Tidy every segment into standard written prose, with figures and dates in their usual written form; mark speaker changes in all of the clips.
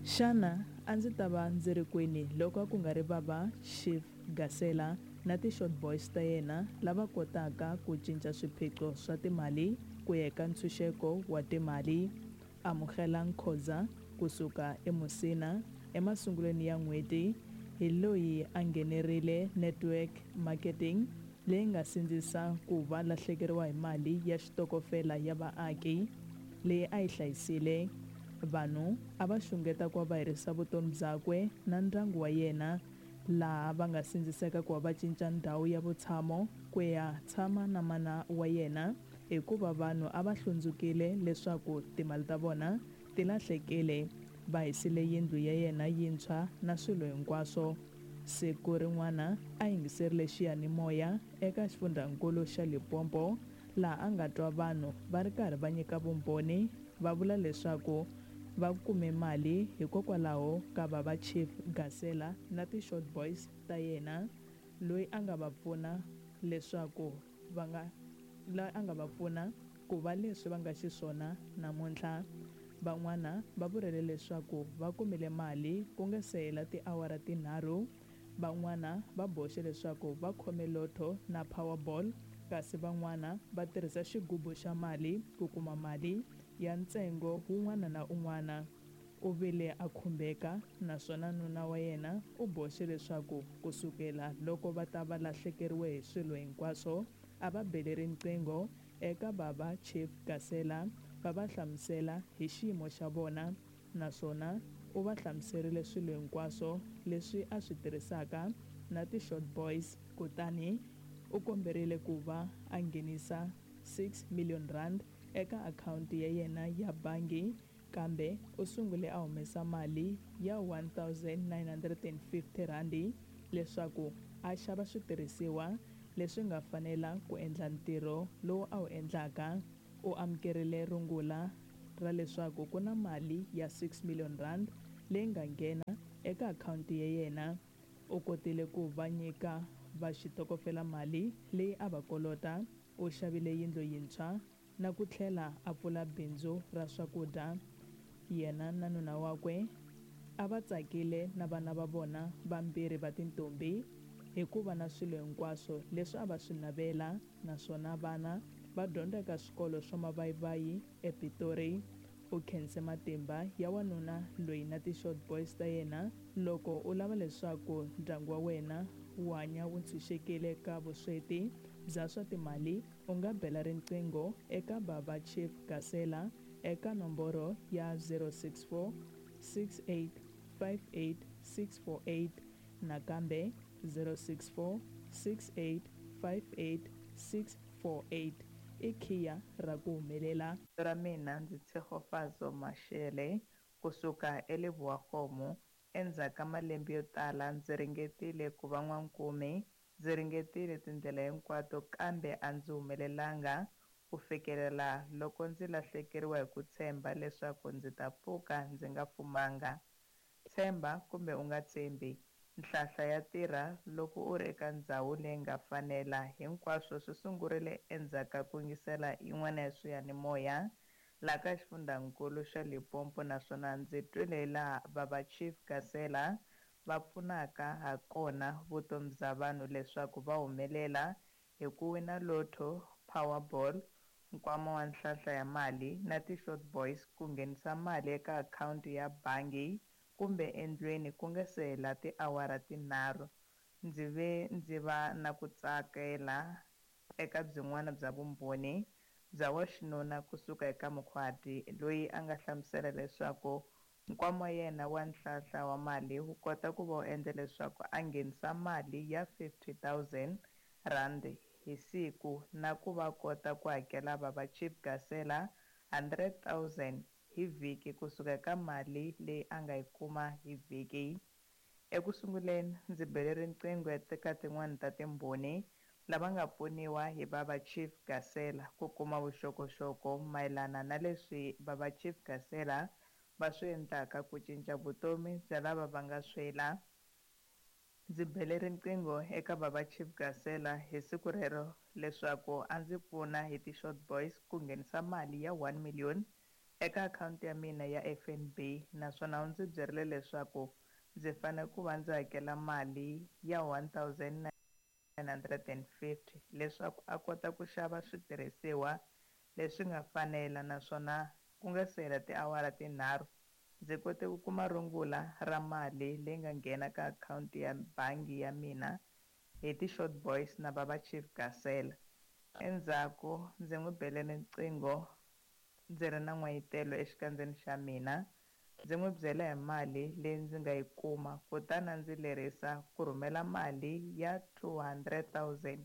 Speaker 1: Xana a ndzi ta va ndzi ri kwini loko a ku nga ri Baba Chief Gasela na ti-short boys ta yena lava kotaka ku cinca swiphiqo swa timali ku ya eka ntshunxeko wa timali? Amugelang Khoza ku suka eMusina emasungulweni ya n'hweti hi loyi a nghenerile network marketing leyi nga sindzisa ku va lahlekeriwa hi mali ya xitokofela ya vaaki leyi a yi hlayisile. Vanhu a va xungeta ku va va herisa vutomi byakwe na ndyangu wa yena, laha va nga sindziseka ku va va cinca ndhawu ya vutshamo ku ya tshama na mana wa yena hikuva vanhu a va hlundzukile leswaku timali ta vona ti lahlekile. Va hisile yindlu ya yena yintshwa na swilo hinkwaswo. Siku rin'wana a yingiserile xiya-ni-moya eka xifundhankulu xa Limpopo laha a nga twa vanhu va ri karhi va nyika vumbhoni va vula leswaku va kume mali hikokwalaho ka va va Chief Gasela na ti-short boys ta yena loyi a nga va pfuna leswaku va nga loyi a nga va pfuna ku va leswi va nga xiswona namuntlha. Van'wana va vurile leswaku va kumile mali ku nga se hela tiawara tinharhu. Van'wana va boxe leswaku va khome lotto na Powerball kasi van'wana va tirhisa xigubu xa mali ku kuma mali ya ntsengo wun'wana na un'wana. U vile a khumbeka naswona nuna wa yena u boxe leswaku ku sukela loko va ta va lahlekeriwe hi swilo hinkwaswo a va bele riqingho eka bava Chief Gasela va va hlamusela hi xiyimo xa vona naswona u va hlamuserile swilo hinkwaswo leswi a swi tirhisaka na ti-short boys kutani u komberile ku va a nghenisa R6 million eka akhawunti ya yena ya bangi kambe u sungule a humesa mali ya R1 950 leswaku a xava switirhisiwa leswi nga fanela ku endla ntirho lowu a wu endlaka. U amukerile rungula ra leswaku ku na mali ya R6 million leyi nga nghena eka akhawunti ya yena. U kotile ku va nyika va xitokofela mali leyi a va kolota, u xavile yindlu yintshwa na ku tlhela a pfula bindzu ra swakudya. Yena na nuna wakwe a va tsakile na vana va vona vambirhi va tintombi hikuva na swilo hinkwaswo leswi a va swi navela naswona vana va dyondza eka swikolo swa mavayivayi ePitori. U khense matimba ya wanuna loyi na ti-short boys ta yena. Loko u lava leswaku ndyangu wa wena wu hanya wu ntshunxekile ka vusweti bya swa timali u nga bela riqingho eka Baba Chief Gasela eka nomboro ya 064 68 58 648, nakambe 064 68 58 648. I khiya ra ku humelela.
Speaker 2: Ra mina ndzi Tshegofatso Mashele kusuka eLebowakgomo. Endzhaku ka malembe yo tala ndzi ringetile ku va n'wankumi, ndzi ringetile tindlela hinkwato kambe a ndzi humelelanga ku fikelela loko ndzi lahlekeriwa hi ku tshemba leswaku ndzi ta pfuka ndzi nga fumanga. Tshemba kumbe u nga tshembi, nhlahla ya tirha loko u ri eka ndzhawu leyi nga fanela. Hinkwaswo swi sungurile endzhaku ka ku yingisela yin'wana ya swiyanimoya laha ka xifundzankulu xa Limpopo naswona ndzi twile laha Baba Chief Gasela va pfunaka ha kona vutomi bya vanhu leswaku va humelela hi ku wina lotto, Powerball, nkwama wa nhlahla ya mali na ti-short boys ku nghenisa mali eka akhawunti ya bangi kumbe endlwini ku nga se hela tiawara tinharhu. Ndzi ve ndzi va na ku tsakela eka byin'wana bya vumbhoni bya waxinuna kusuka eka Mukhwati loyi a nga hlamusela leswaku nkwama wa yena wa nhlahla wa mali wu kota ku va wu endla leswaku a nghenisa mali ya R50 000 hi siku na ku va kota ku hakela Baba Chief Gasela R100 000 hi vhiki kusuka eka mali leyi a nga yi kuma hi vhiki. Eku sunguleni ndzi bele riqingho eka tin'wana ta timbhoni lava nga pfuniwa hi Baba Chief Gasela ku kuma vuxokoxoko mayelana na leswi Baba Chief Gasela va swi endlaka ku cinca vutomi bya lava va nga swela. Ndzi bele riqingho eka Baba Chief Gasela hi siku rero leswaku a ndzi pfuna hi ti-short boys ku nghenisa mali ya 1 million. eka akhawunti ya mina ya FNB, naswona u ndzi byerile leswaku ndzi fanele ku va ndzi hakela mali ya 1950 leswaku a kota ku xava switirhisiwa leswi nga fanela, naswona ku nga se hela tiawara tinharhu ndzi kote ku kuma rungula ra mali leyi nga nghena ka akhawunti ya bangi ya mina hi ti-Short Boys na Baba Chief Gasela. Endzhaku ndzi n'wi bele riqingho ndzi ri na n'wayitelo exikandzeni xa mina, ndzi n'wi byela hi mali leyi ndzi nga yi kuma, kutani a ndzi lerisa ku rhumela mali ya 200 000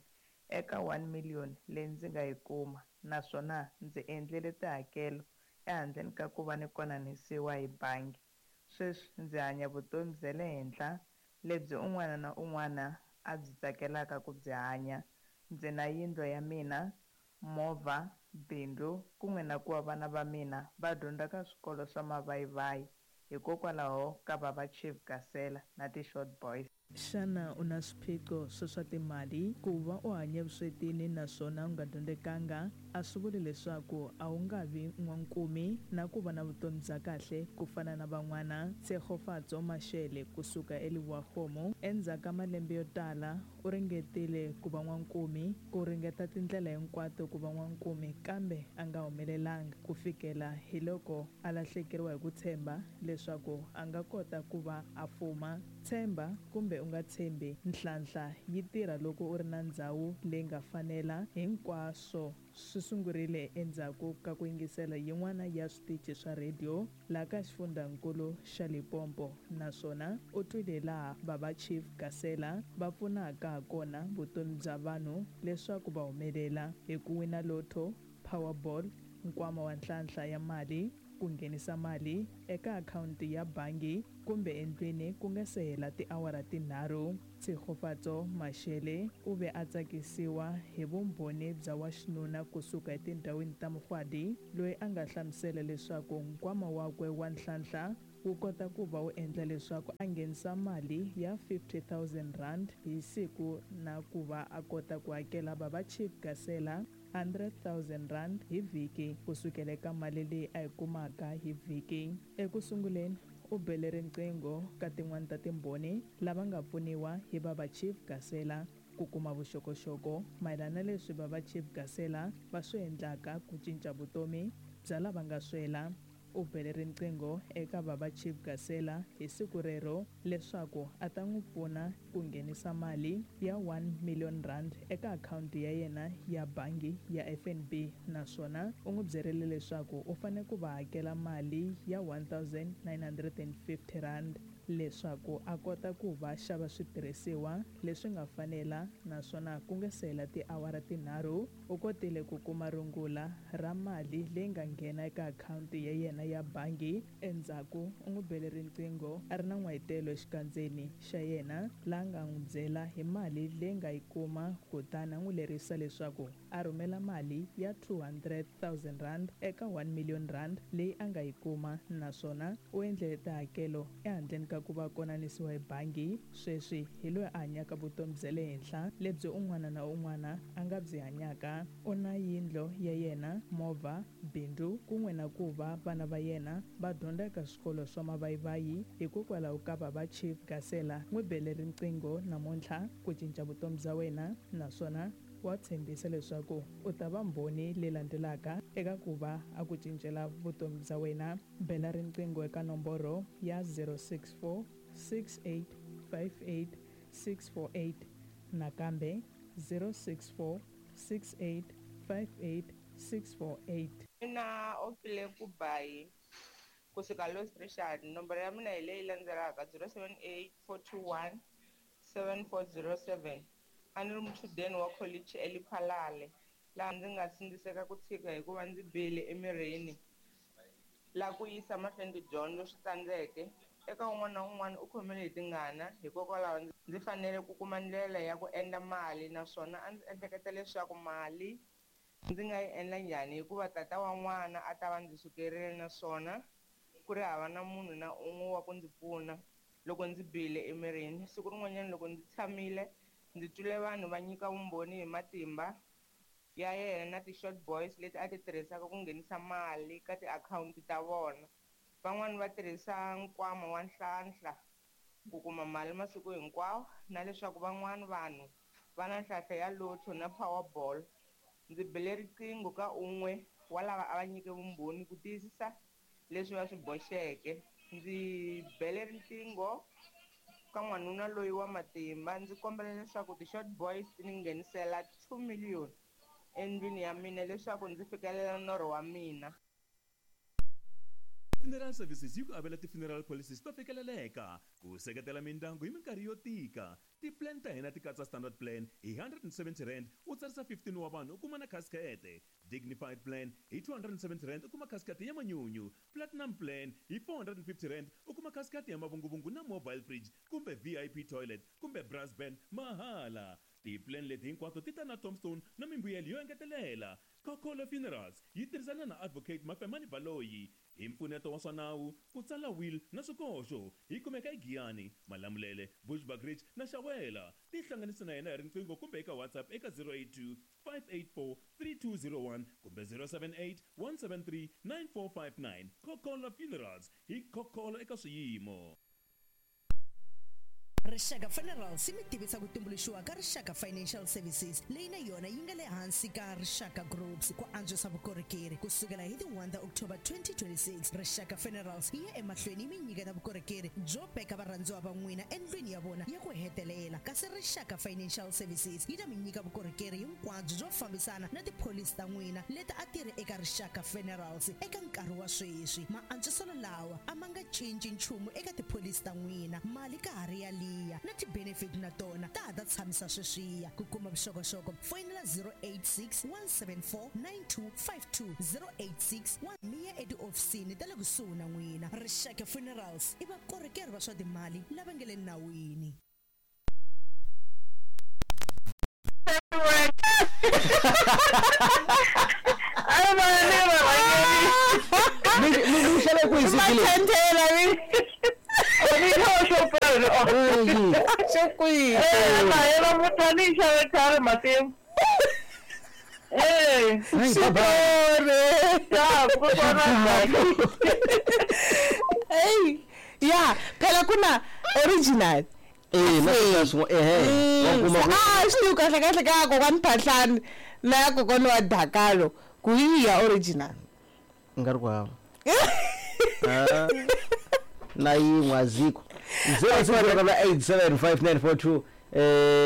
Speaker 2: eka 1 million leyi ndzi nga yi kuma, naswona ndzi endlile tihakelo ehandleni ka ku va ni konanisiwa hi bangi. Sweswi ndzi hanya vutomi bya le henhla lebyi un'wana na un'wana a byi tsakelaka ku byi hanya. Ndzi na yindlu ya mina, movha, bindzu, kun'we na ku va vana va mina va dyondza ka swikolo swa mavayivayi hikokwalaho ka Baba Chief Gasela na ti-Short Boys.
Speaker 1: Xana u na swiphiqo swa swa timali? Ku va u hanye vuswetini naswona u nga dyondzekanga a swi vuli leswaku a wu nga vi n'wankumi na ku va na vutomi bya kahle ku fana na van'wana. Tshegofatso Mashele kusuka eLebowa-Kgomo, endzhaku ka malembe yo tala u ringetile ku va n'wankumi, ku ringeta tindlela hinkwato ku va n'wankumi, kambe a nga humelelanga ku fikela hi loko a lahlekeriwa hi ku tshemba leswaku a nga kota ku va a fuma. Tshemba kumbe u nga tshembi, nhlanhla yi tirha loko u ri na ndhawu leyi nga fanela. Hinkwaswo swi sungurile endzhaku ka ku yingisela yin'wana ya switichi swa rhediyo laha ka xifundzankulu xa Limpopo, naswona u twile laha Baba Chief Gasela va pfunaka hakona vutomi bya vanhu leswaku va humelela hi ku wina Lotto, Powerball, nkwama wa nhlanhla ya mali, ku nghenisa mali eka akhawunti ya bangi kumbe endlwini ku nga se hela tiawara tinharhu. Tshegofatso Mashele u ve a tsakisiwa hi vumbhoni bya wa xinuna kusuka etindhawini ta Mugwadi, loyi a nga hlamusela leswaku nkwama wakwe wa nhlanhla wu kota ku va wu endla leswaku a nghenisa mali ya 50 000 rand hi siku na ku va a kota ku hakela Baba Chief Gasela 100 000 rand hi vhiki kusukela eka mali leyi a yi kumaka hi vhiki. Eku sunguleni u bele riqingho ka tin'wani ta timbhoni lava nga pfuniwa hi Baba Chief Gasela ku kuma vuxokoxoko mayelana na leswi Baba Chief Gasela va swi endlaka ku cinca vutomi bya lava nga swela. U bele riqingho eka Baba Chief Gasela hi siku rero leswaku a ta n'wi pfuna ku nghenisa mali ya 1 million rand eka akhawunti ya yena ya bangi ya FNB, naswona u n'wi byerile leswaku u fanele ku va hakela mali ya 1950 rand leswaku a kota ku va xava switirhisiwa leswi nga fanela, naswona ku nga se hela tiawara tinharhu u kotile ku kuma rungula ra mali leyi nga nghena eka akhawunti ya yena ya bangi. Endzhaku u n'wi bele riqingho a ri na n'wayitelo exikandzeni xa yena, laha nga n'wi byela hi mali leyi nga yi kuma, kutani a n'wi lerisa leswaku a rhumela mali ya 200 000 rand eka 1 million rand leyi a nga yi kuma, naswona u endlele tihakelo ehandleni ka ku va konanisiwa hi bangi. Sweswi hi loyi a hanyaka vutomi bya le henhla lebyi un'wana na un'wana a nga byi hanyaka. U na yindlu ya yena, movha, bindzu, kun'we na ku va vana va yena va dyondza eka swikolo swa mavayivayi hikokwalaho ka Baba Chief Gasela. N'wi bele riqingho namuntlha ku cinca vutomi bya wena, naswona wa tshembisa leswaku u ta va mbhoni leyi landzelaka eka ku va a ku cincela vutomi bya wena. Bela riqingho eka nomboro ya 064 6858 648, nakambe 064 6858 648.
Speaker 3: Mina Opile Kubayi kusuka Louis Richard, nomboro ya mina hi leyi landzelaka: 078 421 7407. A ni ri muchudeni wa kholichi eLephalale, laha ndzi nga sindziseka ku tshika hikuva ndzi bihile emirini, laha ku yisa mahlweni tidyondzo swi tsandzeke. Eka un'wana na un'wana u khomile hi tingana, hikokwalaho ndzi fanele ku kuma ndlela ya ku endla mali, naswona a ndzi ehleketa leswaku mali ndzi nga yi endla njhani, hikuva tata wa n'wana a ta va ndzi sukerile naswona ku ri hava na munhu na un'we wa ku ndzi pfuna loko ndzi bihile emirini. Siku rin'wanyana loko ndzi tshamile, ndzi twile vanhu va nyika vumbhoni hi matimba ya yena na ti-short boys leti a ti tirhisaka ku nghenisa mali ka tiakhawunti ta vona. Van'wani va tirhisa nkwama wa Nhlanhla ku kuma mali masiku hinkwawo na leswaku van'wani vanhu va na nhlahla ya Lotto na Powerball. Ndzi bele riqingho ka un'we wa lava a va nyike vumbhoni ku tiyisisa leswi va swi boxeke. Ndzi bele riqingho ka n'wanuna loyi wa matimba ndzi kombela leswaku ti-short boys ti ni nghenisela 2 million endlwini ya mina leswaku ndzi fikelela norho wa mina.
Speaker 4: Funeral Services yi ku avela ti-funeral policies to fikeleleka ku seketela mindyangu hi minkarhi yo tika. Ti-plan ta hina ti katsa standard plan hi R170 u tsarisa 15 wa vanhu u kuma na khasikete, dignified plan hi R270 u kuma khasikete ya manyunyu, platinum plan hi R450 u kuma khasikete ya mavunguvungu na mobile fridge kumbe VIP toilet kumbe brass band mahala. Ti-plan leti hinkwato ti ta na tombstone na mimbuyelo yo engetelela. Khokholo Funerals yi tirhisana na Advocate Mafemani Baloyi hi mpfuneto wa swa nawu, ku tsala will na swikoxo. Yi kumeka eGiyani, Malamulele, Bushbuckridge na Shawela. Tihlanganise na yena hi riqingho kumbe eka WhatsApp eka 082 584 3201 kumbe 078 173 9459. Khokholo Funerals, hi khokholo eka swiyimo.
Speaker 5: Rixaka Funerals yi mi tivisa ku tumbuluxiwa ka Rixaka Financial Services leyi na yona yi nga le hansi ka Rixaka Groups ku antswisa vukorhokeri. Ku sukela hi ti 1 ta October 2026, Rixaka Funerals yi ya emahlweni yi mi nyiketa vukorhokeri byo veka varhandziwa va n'wina endlwini ya vona ya ku hetelela, kasi Rixaka Financial Services yi ta mi nyika vukorhokeri hinkwabyo byo fambisana na tipholisi ta n'wina leti a ti ri eka Rixaka Funerals eka nkarhi wa sweswi. Maantswiselo lawa a ma nga cinci nchumu eka tipholisi ta n'wina. Mali ka ha ri yaliya na ti-benefit na tona ta ha ta tshamisa sweswiya. Ku kuma vuxokoxoko foyinela 086 174 9252, 086 mi ya etihofisini ta le kusuhi na n'wina. Rixaka Funerals i vakorhokeri va swa timali lava nga le nawini.
Speaker 6: Mi xave kwihi suti leyi?
Speaker 7: Mathendela mi. Mi xo kwihi?
Speaker 2: Na muthu a ni yi xave khale matimu. Eh,
Speaker 7: Xitori. Hey, ya, phela ku na original.
Speaker 6: Eh, na swin'wana swin'wana ehe wa kuma ku
Speaker 7: A swi tivi kahle kahle ka kokwani Phahlani na ya kokwani wa Dakalo ku yi ya original.
Speaker 6: Nga ri ku hava. Ah, na yin'we azikho. 06875942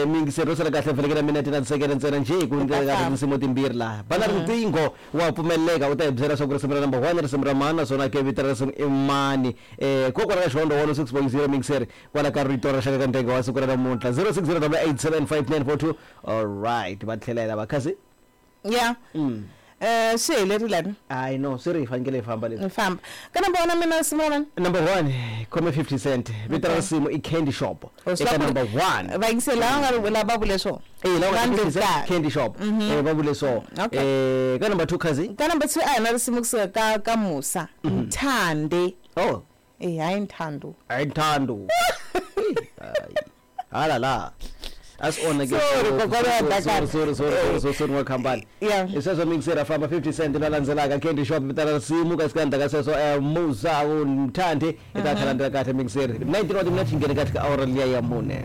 Speaker 6: miyingiseri ro sala kahle fanekele minete na tisekele ntsena njhe ku ndlela ka tinsimu timbirhi laha bana riqingho wa pfumeleleka u ta hi byela swa ku risimu ra number 1 risimu ra mani naswona ke vito ra risimu i mani kokwala ka Xihondlo 106.0 miyingiseri kwala ka rito ra xaka ka ndenge wa siku ra namuntlha 0608875942. All right, va tlhelela vakhasi.
Speaker 7: Ya. Swi helerile ni?
Speaker 6: Hayi no, swi ri hi fanekele hi famba leswi.
Speaker 7: Ni famba. Ka number 1 mina risimu ra mani?
Speaker 6: Number 1 khome 50 Cent, vito ra risimu i Candy Shop. Eka number 1.
Speaker 7: Vayingiseli lava nga ri lava vule swona.
Speaker 6: Eh, lava
Speaker 7: Vanhu
Speaker 6: 50 Cent
Speaker 7: vo tala.
Speaker 6: Candy Shop. Va vule so. Ka number 2 khazi.
Speaker 7: Ka number 2 a hi na risimu kusuka ka Musa. Nthande.
Speaker 6: Oh.
Speaker 7: Eh, hayi Nthando.
Speaker 6: Hayi Nthando. Hala la. A swi onha ke.
Speaker 7: Sorry, kokwana wa Dakar.
Speaker 6: Sorry, sorry, sorry, sorry, sorry, wa khampani.
Speaker 7: Yeah.
Speaker 6: Hi sweswo mixer famba 50 Cent la landzelaka Candy Shop vito ra risimu kasi ka ndzhaku ka sweswo Musa u Nthande i ta kha landzela kahle mixer 19 wa timinete xi nghene kahle ka awara liya ya mune.